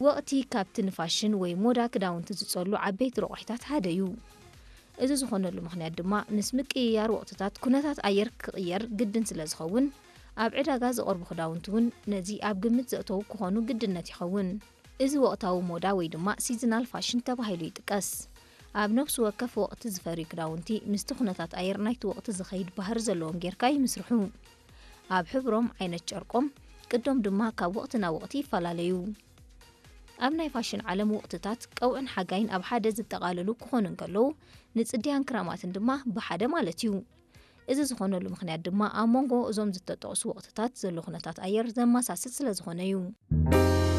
ወቕቲ ካብቲ ንፋሽን ወይ ሞዳ ክዳውንቲ ዝጸሉ ዓበይቲ ረቑሒታት ሓደ እዩ። እዚ ዝኾነሉ ምኽንያት ድማ ምስ ምቅይያር ወቕትታት ኩነታት ኣየር ክቕየር ግድን ስለ ዝኸውን፣ ኣብ ዕዳጋ ዝቐርቡ ክዳውንቲ እውን ነዚ ኣብ ግምት ዘእተዉ ክኾኑ ግድነት ይኸውን። እዚ ወቕታዊ ሞዳ ወይ ድማ ሲዝናል ፋሽን ተባሂሉ ይጥቀስ። ኣብ ነፍሲ ወከፍ ወቕቲ ዝፈርዩ ክዳውንቲ ምስቲ ኩነታት ኣየር ናይቲ ወቕቲ ዝኸይድ ባህሪ ዘለዎም ጌርካ ይምስርሑ። ኣብ ሕብሮም፣ ዓይነት ጨርቆም፣ ቅዶም ድማ ካብ ወቕቲ ናብ ወቕቲ ይፈላለዩ። ኣብ ናይ ፋሽን ዓለም ወቕትታት ቀውዕን ሓጋይን ኣብ ሓደ ዝጠቓለሉ ክኾኑ እንከለዉ፣ ንጽድያን ክራማትን ድማ ብሓደ ማለት እዩ። እዚ ዝኾነሉ ምኽንያት ድማ ኣብ መንጎ እዞም ዝተጠቕሱ ወቕትታት ዘሎ ኩነታት ኣየር ዘመሳስል ስለ ዝኾነ እዩ።